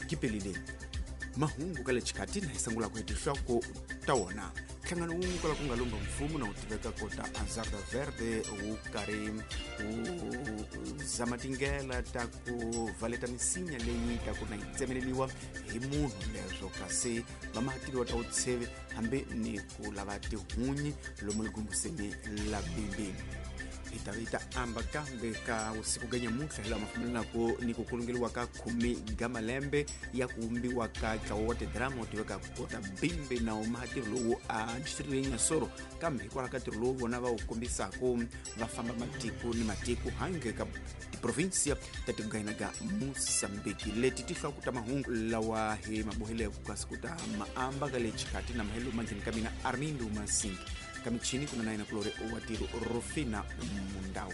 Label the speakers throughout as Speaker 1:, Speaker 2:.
Speaker 1: Gipelile mahungu ka le xikhathi na hi sungulaka hi tinhloko ta wona. Nhlangano wun'we kwala ku nga lumba mfumo na wu tiveka kota Azarda Verde wu karhi wu zama tindlela ta ku valeta misinya leyi ta ku na yi tsemeleliwa hi munhu leswo, kasi vamahatiliwa ta vutsheve hambi ni ku lava tihunyi lomu ligumbuseni la bimbi. Hi ta yi ta amba kambe ka vusiku ga nyamuntlha hi laha mafambelanaku ni ku kulungeliwa ka 10 ga malembe ya ku vumbiwa ka ntlawa wa tidrama wu tiveka kota bimbi na mahatirho lowu a district leyi Nyasoro, kambe hikwalaho ka ntirho lowu vona va wu kombisaku va famba matiko ni matiko handle ka tiprovinsia ta tiko ga hina ga Mosambiki. Leti tinhloko ta mahungu lawa hi maboheleko kasi ku ta maamba ka le xikati na mahelo mandleni ka mina Armindo Masingi, ka michini kuna na yena kulori wa tiro Rufina Mundau.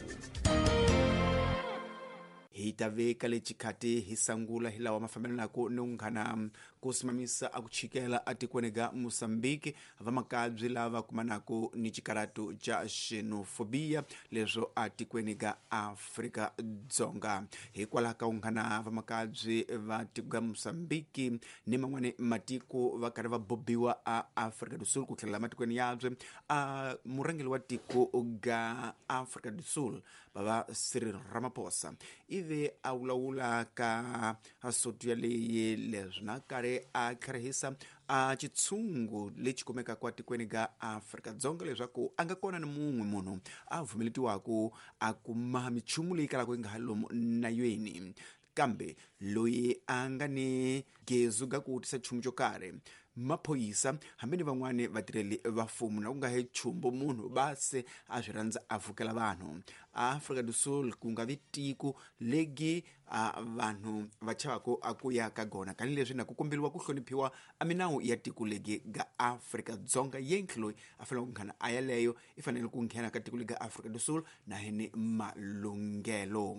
Speaker 1: Hi ta veka le xikhati hi sangula hi lawa mafambelanaku ni unghana ku simamisa a ku chikela atikweni ga Mosambiki vamakabyi lava kumanaku ni xikaratu xa xenofobia leswo atikweni ga Afrika Dzonga. Hikwalaho ka unghana vamakabyi va tiko ga Mosambiki ni man'wani matiko va karhi va bobiwa a Afrika do Sul ku tlhelela matikweni yabye, a murhangeri wa tiko ga Afrika do Sul bava Cyril Ramaphosa ivi a vulavula ka soto yaleyi leswi na karhi a tlharihisa a xitshungu lexi kumekaka atikweni ga Afrika Dzonga leswaku a nga kona ni mun'we munhu a pfumeletiwaku a kuma michumu leyi kalaka yi nga ha lomu nayweni, kambe loyi a nga ni gezu ga ku tisa nchumu xo karhi maphorisa hambi ni van'wani vatirheli va mfumo na ku nga he chumbo munhu va se a swi rhandza a vukela vanhu. Afrika do Sul ku nga vi tiko legi a vanhu va chavaku a ku ya ka gona, tanihileswi na ku komberiwa ku hloniphiwa a minawu ya tiko legi ga Afrika Dzonga. Yentlhe loyi a fanele ku nghena a yaleyo i fanele ku nghena ka tiko legi ga Afrika do Sul na hi ni malunghelo.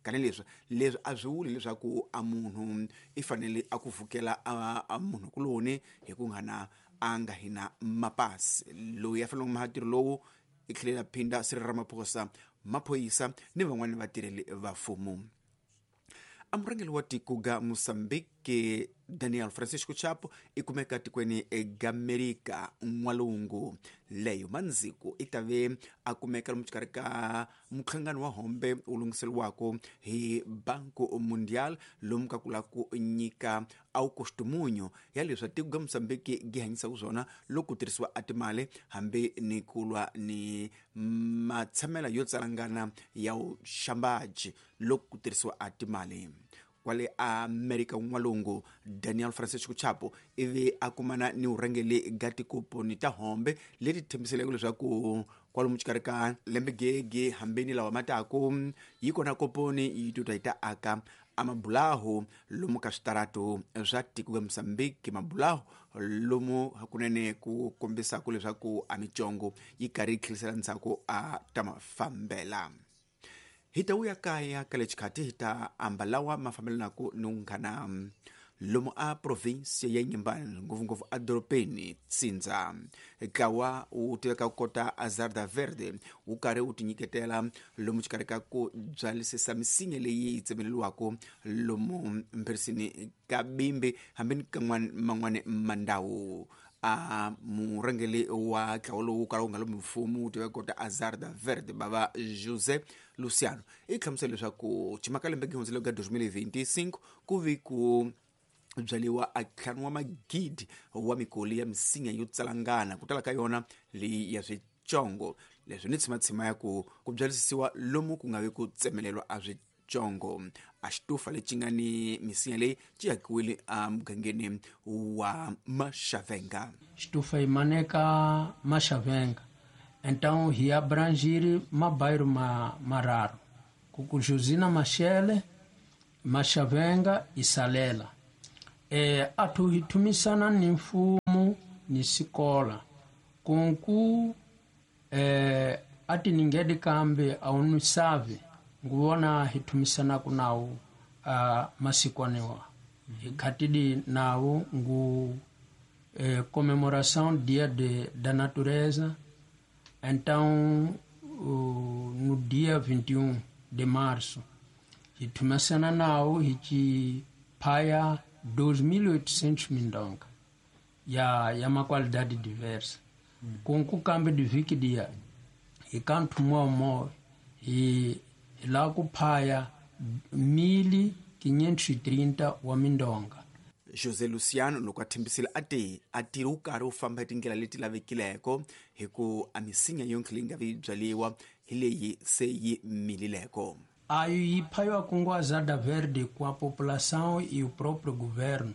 Speaker 1: Tanihileswi leswi a swi vuli leswaku a munhu i fanele a ku vukela a munhu kuloni hi ku nghana a nga hina mapasi. Loyi a fanele ku maha ntirho lowu i tlhela phinda Cyril Ramaphosa, maphorisa ni van'wani vatirheli va mfumo. A murhangeri wa tiko ga Mosambiki Daniel Francisco Chapo i kumeka tikweni ga Amerika n'walungu. Leyo mandziku i ta ve a kumeka lomu xikarhi ka muhlangano wa hombe wu lunghiseriwaka hi Banco Mundial lomu ka ku lava ku nyika a wu kostumunyo ya leswi tiko ga Mosambiki gi hanyisaka swona loko ku tirhisiwa a timali hambi ni ku lwa ni matshamela yo tsalangana ya vuxambaji loko ku tirhisiwa a timali. Kwale Amerika n'walungu Daniel Francisco Chapo ivi a kumana ni vurhangeri ga tikoponi ta hombe leti tshembiseleke leswaku kwalomu xikarhi ka lembe gege hambi ni lawa mataku yi kona koponi yi tuta yi ta aka a mabulahu lomu ka switaratu swa tiko ga Mosambiki, mabulahu lomu hakunene ku kombisaka leswaku a micongo yi karhi yi tlherisela ndzhaku a ta mafambela. Hi ta vuya kaya ka le xikhathi hi ta amba lawa ma fambelanaka ni unghana lomu a province ya Inhambane, ngopfungopfu edorobeni Tsindza. Ntlawa wu tiveka kota Azarda Verde wu karhi wu tinyiketela lomu xikarhi ka ku byalisisa misinya leyi yi tsemeleriwaka lomu mpherisini ka bimbi hambi ni ka man'wani mandhawu. A murhangeri wa ntlawa lowu kala wu nga lomu mfumo wu tiveka kota Azarda Verde bava José Luciano i hlamusela leswaku ximaka lembe gihundzile ka 2025 ku vi ku byariwa a ntlhanu wa magidi wa mikoli ya misinya yo tsalangana ku tala ka yona leyi ya switsongo leswi ni tshimatshima ya ku ku byalisisiwa lomu ku nga vi ku tsemelelwa a switsongo. A xitufa lexi nga ni misinya leyi xi hakiwile emugangeni wa Maxavenga.
Speaker 2: Xitufa yi maneka Maxavenga, então hi abrangir mabairro mararo ku Josina Machel, Maxavenga e Salela. Athu hi thumisana ni mfumo ni sikola kunku a ti ningedi kambe a wu ni savi nguvona hi thumisanaku nawu a masikwaniwa hi khatidi nawu ngu comemoração dia da natureza. Então no dia 21 de março hi thumisana nawu hi ci phaya 2.800 mindonga ya uma qualidade diversa. Com o câmbio de viki dia hi ka ntlhumo hi la ku phaya 1.530 wa mindonga.
Speaker 1: José Luciano loko a thembisile a te a tirhi wu karhi wu famba hi tindlela leti lavekileko hi ku a misinya yonkhe leyi nga vi byaliwa hi leyi se yi milileko.
Speaker 2: Ayo yi phayiwa kunguazada verde com a população e o próprio governo.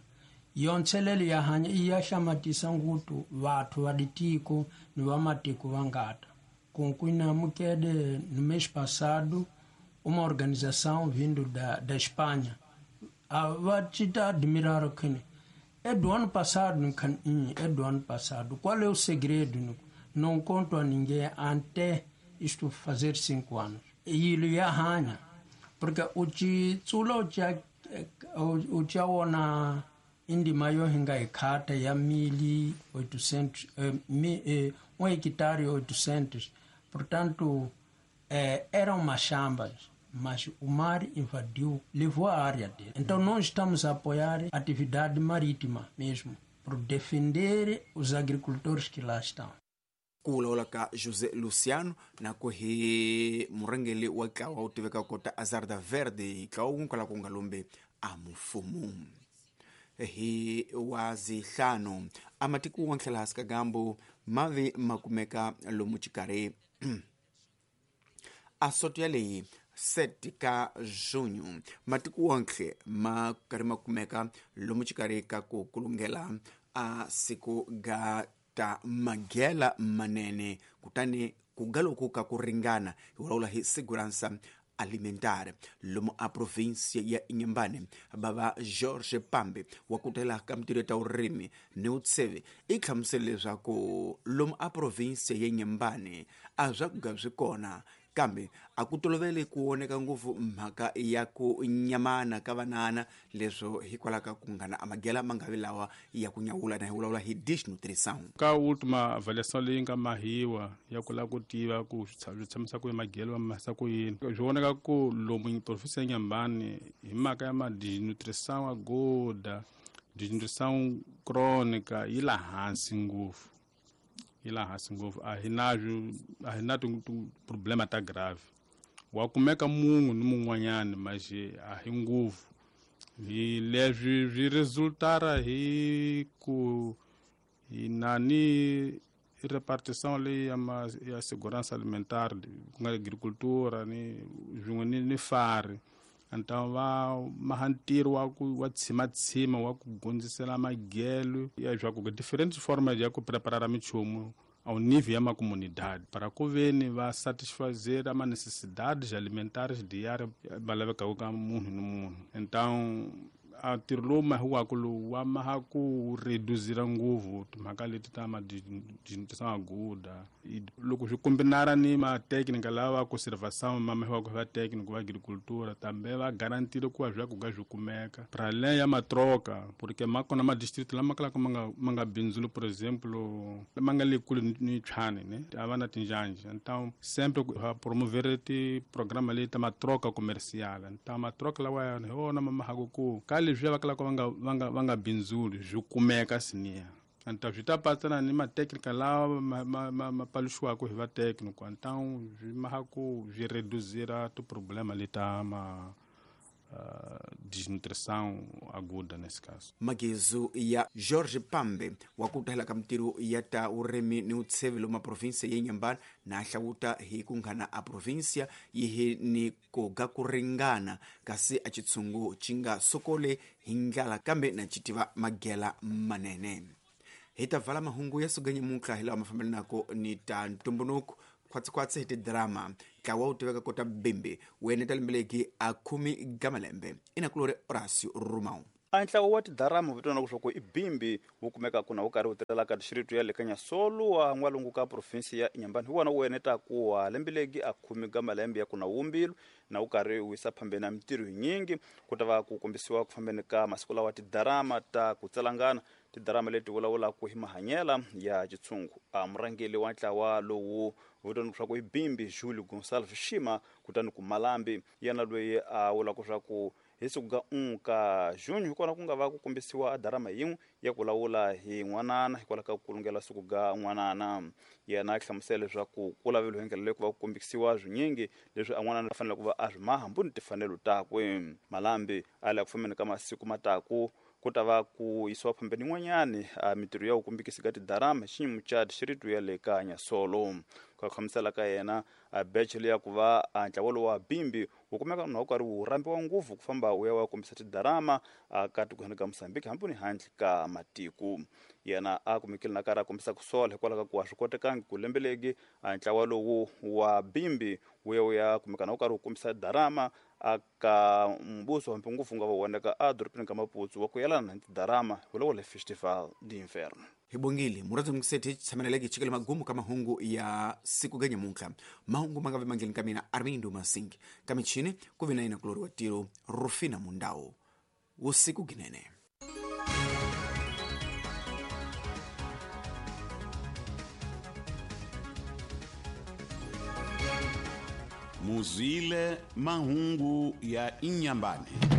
Speaker 2: Yontshelelo ya hanya i ya hlamatisa ngutu vathu va ditiko ni va matiko va ngata. Concluindo mukede no mês passado uma organização vindo da Espanha va te admirar que é do ano passado, é do ano passado. Qual é o segredo? Não conto a ninguém até isto fazer 5 anos. E ele ia arranha, porque o te tsulo o te ona indima yo hinga ikhata ya 1.800 1 hectare 800. Portanto, eram machambas, mas o mar invadiu, levou a área dele. Então nós estamos a apoiar a atividade marítima mesmo, por defender os agricultores que lá estão.
Speaker 1: Ku vulavula ka José Luciano na ku hi murhangeri wa ntlawa wu tiveka kota Azarda Verde, ntlawa wu kwala ku nga lombe a mfumo. Hi wa zihlanu a matiko wa ntlhela hansi ka gambu mavi makumeka lomu xikarhi a soto yaleyi 7 ka junho matiko wonke ma karhi ma kumeka lomu xikarhi ka ku kulungela a siku ga ta magela manene kutani ku ga loku ka ku ringana hi vulavula hi segurança alimentar lomu a província ya Inhambane bava Jorge Pambe wa kutela ka mintirho ya ta vurimi ni vutsheve i hlamusele leswaku lomu a província ya Inhambane a swa ku ga swi kona kambe a ku tolovele ku voneka ngopfu mhaka ya ku nyamana ka vanana leswo hikwalaho ka ku ngana a magela ma nga vi lawa ya ku nyawula na hi vulavula hi desnutrição.
Speaker 3: Ka última avaliação leyi nga mahiwa ya ku lava ku tiva ku swi tshamisa ku yini magelo ma mahisa ku yini swi vonaka ku lomu provinsi ya Inhambane hi mhaka ya ma desnutrição aguda, desnutrição crônica yi la hansi ngopfu. Yi la hansi ngopfu a hi na problema ta grave wa kumeka munhu ni mun'wanyani maxe a hi ngopfu hi leswi swi resultara hi ku hi na ni repartição leyi ya segurança alimentar ku nga agricultura ni swin'we ni fari então va maha ntirho wa ku wa tshimatshima wa ku gondzisela magelo ya swa ku different formas ya ku preparar minchumu ao nível ya uma comunidade para ku veni va satisfazer ama necessidades alimentares diárias va lavekaka ka munhu ni munhu. Então a ntirho lowu mahiwaka lowu wa maha ku reduzira ngopfu timhaka leti ta ma desnutrição aguda loko swi kombinara ni ma-técnica lava conservação ma mahiwaka va técnico va agricultura tambe va garantile ku va swakudya swi kumeka para além ya matroka porque ma kona ma-distrito lama kalaka ma nga bindzuli por exemplo ma nga le kule ni Tshwane ne a va na tinjanja então sempre va promover ti-programa leti ta matroka comercial então matroka lawa hi wona ma mahaka ku ka leswi va kalaka va nga bindzuli swi kumeka siniya então swi ta patsana ni ma-técnica lawa ma paluxiwaka hi va técnico então swi maha ku swi reduzira ti-problema leta ma desnutrição aguda nesse caso.
Speaker 1: Magezu ya Jorge Pambe wa ku tahela ka mintirho ya ta vurimi ni vutsheve lomu provinsia ya Inhambane na hlawuta hi ku nghana a provinsia yi hi ni ku ga ku ringana kasi a xitshungu xi nga sokole hi ndlala kambe na xi tiva magela manene. Hi ta vala mahungu ya suganyamuntlha hi lawa ma fambelanaka ni ta ntumbuluko khwatsikhwatsi hi tidrama ntlawa wu tiveka kota bimbi wu eneta lembe a 10 ga malembe inakulori Horacio Romão.
Speaker 4: A ntlawa wa tidrama vitana leswaku i bimbi wu kumeka kuna wu karhi wu tirhelaka distrito ya le Kanyasolu wa n'walungu ka provinsi ya Inhambane hi wona wu enetaku wa lembe legi a 10 ga malembe ya kuna wumbilu na wu karhi wu yisa phambeni na mintirho yinyingi ku ta va ku kombisiwa ku fambeni ka masiku lawa tidrama ta ku tsalangana tidrama leti vulavulaka hi mahanyela ya xitshungu. A murhangeri wa ntlawa lowu vitana leswaku i bimbi Julio Gonçalves Shima kutani ku Malambi yena loyi a vulaka swa ku Hi siku ga 1 ka junho hi kona ku nga va ku kombisiwa a darama yin'we ya ku lawula hi n'wanana hikwalaho ka ku kulungela siku ga n'wanana. Yena a hlamusela leswaku ku laveliwe hi ndlela leyi ku va ku kombisiwa swinyingi leswi a n'wanana a fanele ku va a swi maha mbuni timfanelo takwe. Malambi a le ku fambeni ka masiku mataku ku ta va ku yisiwa phambeni yin'wanyani a mintirho ya ku kombekisi ka tidarama hi xinyimo xa dixiritu ya le ka Nyasolo. Ku khamisela ka yena a beche leya ku va a ntlawa lowu wa bimbi wu kumeka na wu karhi wu rambiwa ngopfu ku famba wu ya wa kombisa tidarama a ka tikweni ka Mozambique hambi ni handle ka matiko. Yena a kumekile na karhi a kombisa ku sola hikwalaho ka ku a swi kotekangi ku lembeleki a ntlawa lowu wa bimbi wu ya wu ya kumeka na wu karhi wu kombisa darama a ka mbuso hambi ngopfu nga va voneka a dorobeni ka Maputo wa ku yelana na tidarama hi le Festival d'Inverno.
Speaker 1: Hi bongile murhandzi mukiseti hi tshameleleke hi chikele magumu ka mahungu ya siku ga nyamuntlha. Mahungu ma nga vi mangheni ka mina Armindo Masingi, ka michini ku vi na yena kulori wa tiro Rufina Mundau. Vusiku ginene.
Speaker 5: Muzwile mahungu ya Inyambane.